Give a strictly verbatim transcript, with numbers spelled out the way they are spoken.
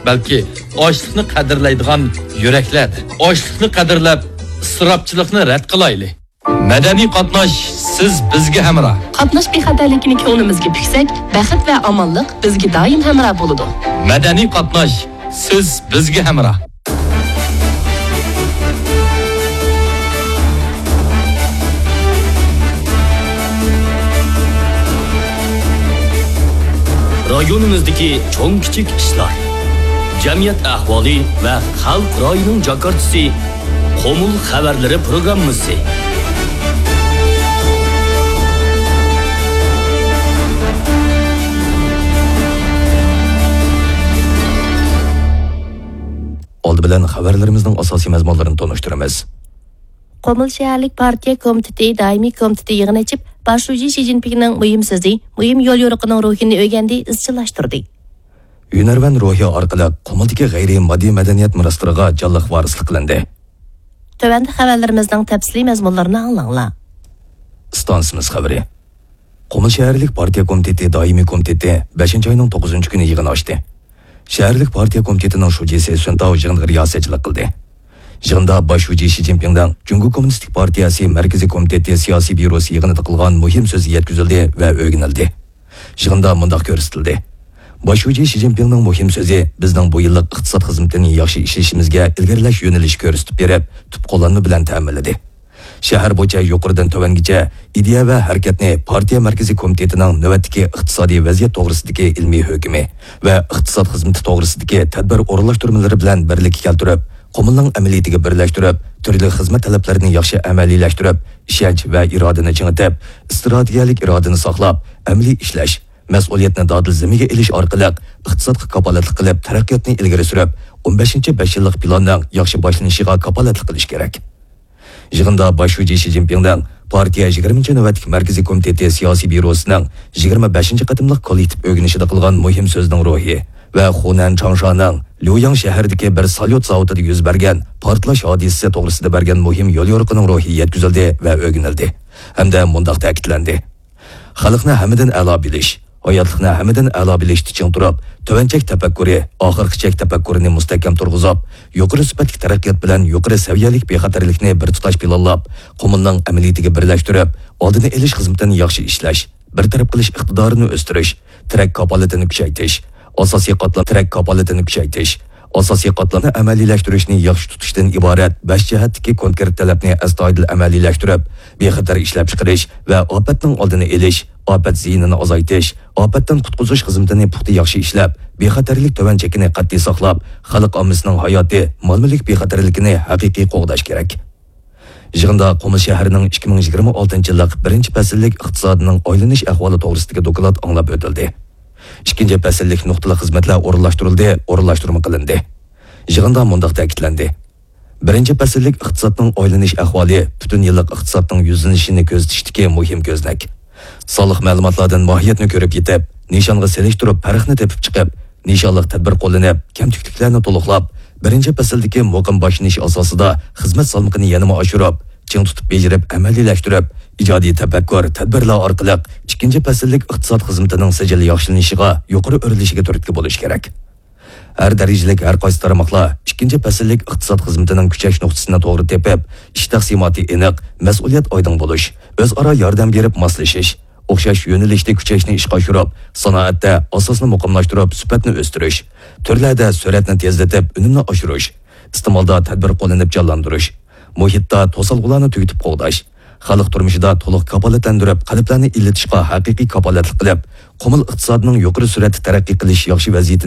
بەلكى ئاشلىقنى قەدىرلەيدىغان يۈرەكلەردە. ئاشلىقنى قەدىرلەپ، ئىسراپچىلىقنى رەت قىلايلى. مەدەنىي قاتناش، سىز بىزگە ھەمراھ. قاتناش بىخەتەرلىكىنى كۆڭلىمىزگە پۈكسەك، بەخت ۋە ئامانلىق بىزگە دائىم ھەمراھ بولىدۇ. مەدەنىي قاتناش، سىز بىزگە ھەمراھ. رايونىمىزدىكى چوڭ-كىچىك ئىشلار، جەمئىيەت ئەھۋالى ۋە خەلق رايىنىڭ جاكارتىسى، قۇمۇل خەۋەرلىرى پروگراممىسى. ئالدى بىلەن خەۋەرلىرىمىزنىڭ ئاساسىي مەزمۇنلىرىنى تونۇشتۇرىمىز. قۇمۇل شەھەرلىك پارتىيە كومىتېتى دائىمىي كومىتېتى يىغىن ئېچىپ، باش شۇجى شى جىنپىڭنىڭ مۇھىم سۆزى، مۇھىم يوليورۇقىنىڭ روھىنى ئۆگەندى، ئىزچىللاشتۇردى. ھۈنەرۋەن روھى ئارقىلىق قۇمۇلدىكى غەيرىي ماددىي مەدەنىيەت مىراسلىرىغا جانلىق ۋارىسلىق قىلىندى. تۆۋەندە خەۋەرلىرىمىزنىڭ تەپسىلىي مەزمۇنلىرىنى ئاڭلاڭلار. ئىستانسىمىز خەۋىرى. قۇمۇل شەھەرلىك پارتىيە كومىتېتى دائىمىي كومىتېتى بەشىنچى ئاينىڭ توققۇزىنچى كۈنى يىغىن ئاچتى. شەھەرلىك پارتىيە كومىتېتىنىڭ شۇجىسى سۈن تاۋ يىغىنغا رىياسەتچىلىك قىلدى. يىغىندا باش شۇجى شى جىنپىڭنىڭ جۇڭگو كوممۇنىستىك پارتىيەسى مەركىزىي كومىتېتى سىياسىي بيۇروسى يىغىنىدا قىلغان مۇھىم سۆزى يەتكۈزۈلدى ۋە ئۆگىنىلدى. يىغىندا مۇنداق كۆرسىتىلدى: باش شۇجى شى جىنپىڭنىڭ مۇھىم سۆزى بىزنىڭ بۇ يىللىق ئىقتىساد خىزمىتىنى ياخشى ئىشلىشىمىزگە ئىلگىرىلەش يۆنىلىشى كۆرسىتىپ بېرىپ، تۈپ قوللانما بىلەن تەمىنلىدى. شەھەر بويىچە يۇقىرىدىن تۆۋەنگىچە ئىدىيە ۋە ھەرىكەتنى پارتىيە مەركىزىي كومىتېتىنىڭ نۆۋەتتىكى ئىقتىسادىي ۋەزىيەت توغرىسىدىكى ئىلمىي ھۆكمى ۋە ئىقتىساد خىزمىتى توغرىسىدىكى تەدبىر ئورۇنلاشتۇرمىلىرى بىلەن بىرلىككە كەلتۈرۈپ، قۇمۇلنىڭ ئەمەلىيىتىگە بىرلەشتۈرۈپ، تۈرلۈك خىزمەت تەلەپلىرىنى ياخشى ئەمەلىيلەشتۈرۈپ، ئىشەنچ ۋە ئىرادىنى چىڭىتىپ، ئىستراتېگىيەلىك ئىرادىنى ساقلاپ، ئەمەلىي ئىشلەش، مەسئۇلىيەتنى دادىل زىممىگە ئېلىش ئارقىلىق ئىقتىسادقا كاپالەتلىك قىلىپ، تەرەققىياتنى ئىلگىرى سۈرۈپ، ئون بەشىنچى بەش يىللىق پىلاننىڭ ياخشى باشلىنىشىغا كاپالەتلىك قىلىش كېرەك. يىغىندا باش شۇجى شى جىنپىڭنىڭ پارتىيە يىگىرمىنچى نۆۋەتلىك مەركىزىي كومىتېتى سىياسىي بيۇروسىنىڭ يىگىرمە بەشىنچى قېتىملىق كوللېكتىپ ئۆگىنىشىدە قىلغان مۇھىم سۆزىنىڭ روھى ۋە خۇنەن چاڭشانىڭ ليۇياڭ شەھىرىدىكى بىر ساليۇت زاۋۇتىدا يۈز بەرگەن پارتلاش ھادىسىسى توغرىسىدا بەرگەن مۇھىم يوليورۇقىنىڭ روھى يەتكۈزۈلدى ۋە ئۆگىنىلدى ھەمدە مۇنداق تەكىتلەندى: خەلقنى ھەممىدىن ئەلا بىلىش، ھاياتلىقنى ھەممىدىن ئەلا بىلىشتە چىڭ تۇرۇپ، تۆۋەن چەك تەپەككۇرى، ئاخىرقى چەك تەپەككۇرىنى مۇستەھكەم تۇرغۇزۇپ، يۇقىرى سۈپەتلىك تەرەققىيات بىلەن يۇقىرى سەۋىيەلىك بىخەتەرلىكنى بىر تۇتاش پىلانلاپ، قۇمۇلنىڭ ئەمەلىيىتىگە بىرلەشتۈرۈپ، ئالدىنى ئېلىش خىزمىتىنى ياخشى ئىشلەش، بىر تەرەپ قىلىش ئىقتىدارىنى ئۆستۈرۈش، تىرەك كاپالىتىنى كۈچەيتىش، ئاساسىي قاتلام تىرەك كاپالىتىنى كۈچەيتىش، ئاساسىي قاتلامنى ئەمەلىيلەشتۈرۈشنى ياخشى تۇتۇشتىن ئىبارەت بەش جەھەتتىكى كونكرېت تەلەپنى ئەستايىدىل ئەمەلىيلەشتۈرۈپ، بىخەتەر ئىشلەپچىقىرىش ۋە ئاپەتنىڭ ئالدىنى ئېلىش، ئاپەت زىيىنىنى ئازايتىش، ئاپەتتىن قۇتقۇزۇش خىزمىتىنى پۇختا ياخشى ئىشلەپ، بىخەتەرلىك تۆۋەن چېكىنى قەتئىي ساقلاپ، خەلق ئاممىسىنىڭ ھاياتى، مال-مۈلۈك بىخەتەرلىكىنى ھەقىقىي قوغداش كېرەك. يىغىندا قۇمۇل شەھىرىنىڭ ئىككى مىڭ يىگىرمە ئالتىنچى يىللىق بىرىنچى پەسىللىك ئىقتىسادىنىڭ ئايلىنىش ئەھۋالى توغرىسىدىكى دوكلات ئاڭلاپ ئۆتۈلدى. ئىككىنچى پەسىللىك نۇقتىلىق خىزمەتلەر ئورۇنلاشتۇرۇلدى، ئورۇنلاشتۇرما قىلىندى. يىغىندا مۇنداق تەكىتلەندى: بىرىنچى پەسىللىك ئىقتىسادنىڭ ئايلىنىش ئەھۋالى پۈتۈن يىللىق ئىقتىسادنىڭ يۈزلىنىشىنى كۆزىتىشتىكى مۇھىم كۆزنەك. سانلىق مەلۇماتلاردىن ماھىيەتنى كۆرۈپ يېتىپ، نىشانغا سېلىشتۇرۇپ پەرقنى تېپىپ چىقىپ، نىشانلىق تەدبىر قوللىنىپ، كەمتۈكلۈكلەرنى تولۇقلاپ، بىرىنچى پەسىلدىكى مۇقىم باشلىنىش ئاساسىدا خىزمەت سالمىقىنى يەنىمۇ ئاشۇرۇپ، چىڭ تۇتۇپ بېجىرىپ، ئەمەلىيلەشتۈرۈپ، ئىجادىي تەپەككۇر، تەدبىرلەر ئارقىلىق ئىككىنچى پەسىللىك ئىقتىساد خىزمىتىنىڭ سىجىل ياخشىلىنىشىغا يۇقىرى ئۆرلىشىگە تۈرتكە بولۇش كېرەك. ھەر دەرىجىلىك ھەر قايسى تارماقلار ئىككىنچى پەسىللىك ئىقتىساد خىزمىتىنىڭ كۈچەش نۇقتىسىنى توغرا تېپىپ، ئىش تەقسىماتى ئېنىق، مەسئۇلىيەت ئايدىڭ بولۇش، ئۆزئارا ياردەم بېرىپ ماسلىشىش، ئوخشاش يۆنىلىشتە كۈچەشنى ئىشقا ئاشۇرۇپ، سانائەتتە ئاساسنى مۇقىملاشتۇرۇپ، سۈپەتنى ئۆستۈرۈش، تۈرلەردە سۈرئەتنى تېزلىتىپ، ئۈنۈمنى ئاشۇرۇش، ئىستېمالدا تەدبىر قوللىنىپ جانلاندۇرۇش، مۇھىتتا توسالغۇلارنى تۈگىتىپ قوغداش، خەلق تۇرمۇشىدا تولۇق كاپالەتلەندۈرۈپ، قەلبلەرنى ئىللىتىشقا ھەقىقىي كاپالەتلىك قىلىپ، قۇمۇل ئىقتىسادىنىڭ يۇقىرى سۈرئەتتە تەرەققىي قىلىش ياخشى ۋەزىيىتىنى